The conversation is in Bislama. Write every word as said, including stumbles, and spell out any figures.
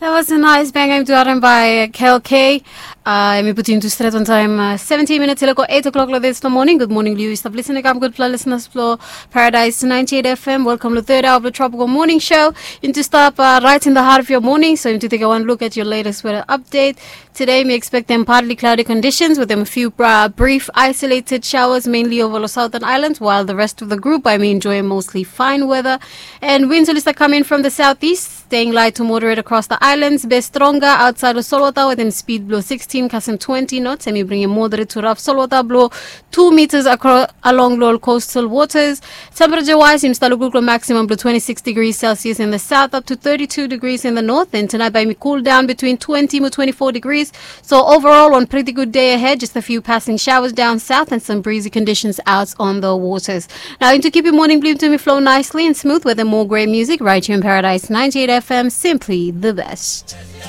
That was a nice bang. Em tu harim by Kel K. Uh, em i putim tu stret on time. Uh, seventeen minutes ileko eight o'clock lo this the morning. Good morning, Liu. Stop listening. I'm good. Listen us flow Paradise ninety-eight F M. Welcome to the third hour of the Tropical Morning Show. Into stop uh, right in the heart of your morning. So into take a one look at your latest weather update. Today, we expect them partly cloudy conditions with them a few uh, brief isolated showers, mainly over the southern islands, while the rest of the group, I mean, enjoy mostly fine weather. And winds will start coming from the southeast, staying light to moderate across the islands, be stronger outside of Solwata with them speed below sixteen, custom twenty knots, and we bring a moderate to rough Solwata below two meters across along lower coastal waters. Temperature wise, im start lukluk lo maximum below twenty-six degrees Celsius in the south up to thirty-two degrees in the north. And tonight by me cool down between twenty to twenty-four degrees. So overall, one pretty good day ahead, just a few passing showers down south and some breezy conditions out on the waters. Now, into keep your morning bloom to me flow nicely and smooth with the more great music right here in Paradise ninety-eight F M, simply the best.